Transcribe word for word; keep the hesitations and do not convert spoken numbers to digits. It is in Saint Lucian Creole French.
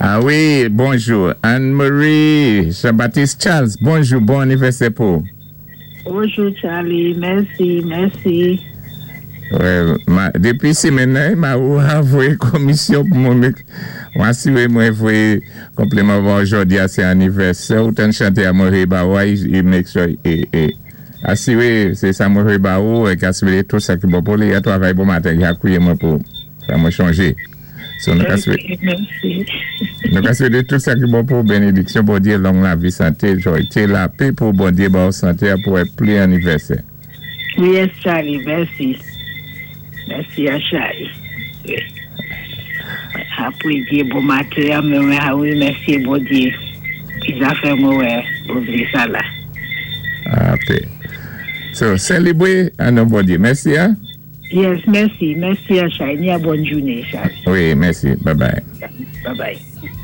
Ah wi, bonjou. Anne-Marie Jean-Baptiste Charles, bonjou, bon anivèsè pou. Bonjou Charlie, mèsi, mèsi. Well, ma, dépi simenn nan, ma ou voyé komisyon pou mwen mwen asiwé mwen voyé konpliman bon jòdi a sé anivèsè ou tann chanté a mwen ba ou é make sure é, é asiwé sé sa mwen ba ou é asiwé tou sa ki bon pou li a twavay bon maten i a kwiyé mwen pou sa mwen chonjé. So, nou ka swété Mèsi. Nou ka swété tou sa ki bon pou bénédiksyon Bondyé, long lavi, santé, jwa, lapè pou Bondyé ba ou santé pou wè pli anivèsè. Yes, Charlie, mèsi. Mèsi a Charlie. Wi. Apwé bon maten, mwen wi, mèsi Bondyé. Ki zafè mwen wè, bon sa la. Ah, ok. So, sélébwé an non Bondyé. Mèsi, hein? Yes, mèsi. Mèsi a Charlie. Ni a bòn jouné, Charlie. Wi, mèsi. Bye bye. Bye bye.